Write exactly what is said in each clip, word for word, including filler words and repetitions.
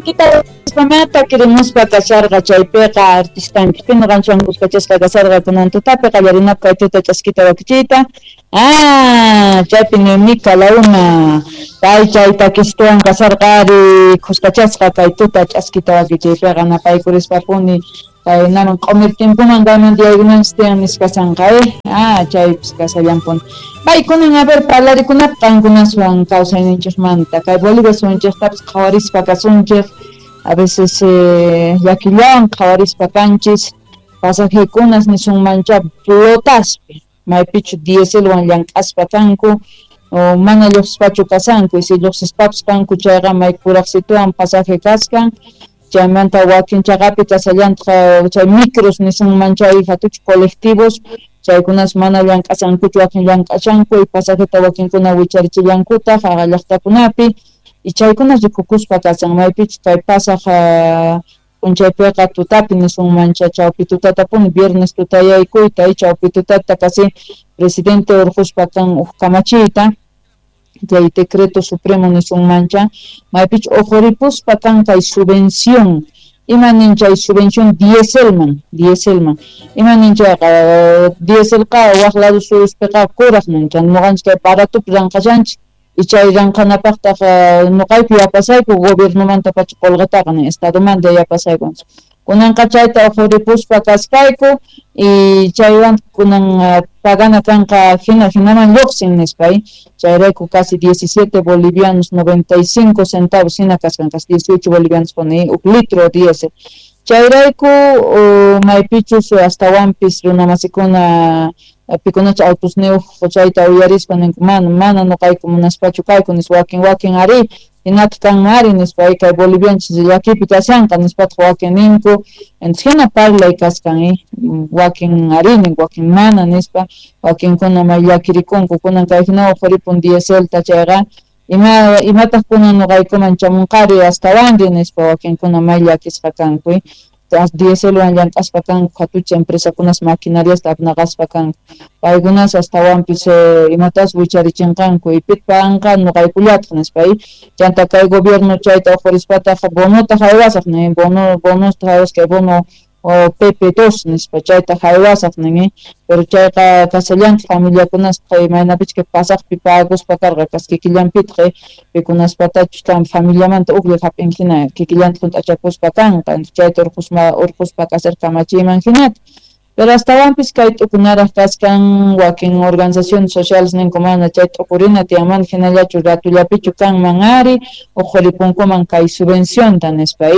Ch'askita mata querimuspa kasharqa chaypiqa artistanchik ñuqanchikwan kuskachasqa kasharqa kunan tutapi qallarinapaq kay tuta ch'askita wakichiyta. Ah, chaypi Noemí Calauna pay chay takistuwan kasharqa ari kuskachasqa kay tuta ch'askita wakichiypiqa napaykurispa-puni kay naman q'umir tiempoman kayman tiyaykunanchis tiyan nisqasanqa eh. Ah, chaypis kasallampuni. Paykunan a ver parlarikunapaq qankunaswan kawsayninchikmanta kay Bolivia suyunchiktapis qhawarispa kasunchik. A veces eh, llakillawan qhawarispa kanchis pasajekunas nisunmancha flotaspi maypichu dieselwan llank'aspa kanku o mana lluqsispachu kasanku y si lluqsispapis kanku chayqa may kuraqsituwan pasaje kaskan chaymanta wakin chaqapi kasallantaq chay micros nisunman chay hatuchu colectivos chaykunas mana llank'asankuchu wakin llank'ashanku y pasajeta wakinkuna wicharichillankutaq haqa llaqtakunapi. Y chaykunas rikukuspa kasan maypichu kay pasaq p'unchaypiqa tutapi nisunmancha chawpi tutatapuni viernes tutayaykuyta y chawpi tutata kasi presidente urquspa kan huk kamachiyta chay decreto supremo nisunmancha maypichu uquripuspa kan kay subvención ima nin chay subvención dieselman dieselman ima nin chayqa dieselqa waq lado suyuspiqa kuraq nincha ñuqanchik kay baratopi ranqashanchik y chay ranqanapaqtaq ñuqayku yapasayku gobiernomantapacha qullqitaqa nin estadomanta yapasayku kunanqa chayta uquripuspa kaskayku y chaywan kunan pagana kanqa hina hinaman lluqsin nispa chayrayku casi diecisiete bolivianos noventa y cinco centavos hina kaskan casi dieciocho bolivianos pone huk litro diésel chayrayku maypichus astawanpis runamasikuna pikunacha autos niyuq chayta uyarispa ninku mana mana ñuqayku munaspachu kayku nispa wakin wakin ari hinataq kanman ari nispa kay bolivianchis llakipi kashanqa nispataq wakin ninku entonces hina parlay kaskan eh wakin ari ninku wakin mana nispa wakinkuna may llakirikunku kunan kay hina uquripun dieselta chayqa ima imataq kunan ñuqaykuman chamunqari astawanri nispa wakinkuna may llakisqa kanku dieselwan llank'aspa kanku hatucha empresakunas maquinariasta apnaqaspa kanku paykunas astawanpis imatas wicharichinqanku y pitpanqa ñuqaykullataq nispa chanta kay gobierno chayta uqurispataq bonota haywasaq nin bono bonosta haywasaq kay bono P P dos nispa chayta haywasaq nin pero chayqa kasallantaq familiakunaspaq imaynapichka pasaqpi paguspa karqa kas kikillanpitaq pikunaspatachus kan familiamanta uklla hap'in hina kikillantaq hunt'achakuspa kanqa chayta urqusma urquspa kasar kamachiyman hinata pero astawanpis kay t'ukunaraq kaskan wakin organizaciones sociales ninku mana chay t'ukurina tiyanmanta hinallachu ratullapichu kanman ari uquripunkuman kay subvencionta nispa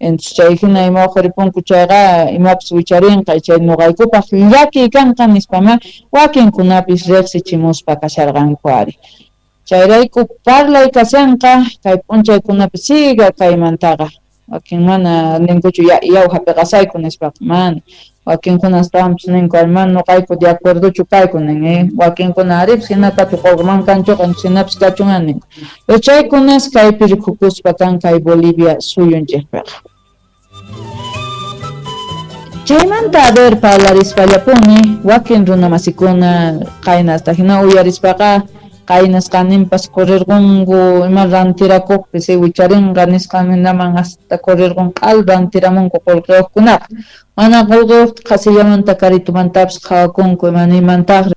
entonces chay hina ima uquripunku chayqa imapis wicharinqa chay ñuqaykupaq llakiy kanqa nispama wakinkunapis riqsichimuspa kasharqanku ari chayrayku parlay kashanqa kay p'unchaykunapi siga kaymantaqa wakin mana ninkuchu yaw hapiqasayku nispaqa mana wakinkuna astawanpis ninku mana ñuqayku de acuerdochu kayku nin eh wakinkuna aripis hinatapi qullqiman kanchuqa hinapis kachun ninku pero chaykunas kaypi rikukuspa kan kay Bolivia suyunchikpiqa chaymanta a ver parlarispallapuni wakin runamasikuna qaynasta hina uyarispaqa qaynasqaninpas correrqunku ima rantirakuqpis wicharinqa nisqan hinaman hasta correrqun q'al rantiramunku qullqiyuqkunaqa mana qullqiyuqta qasillamanta karitumantapis qhawakunku ima nimantaqri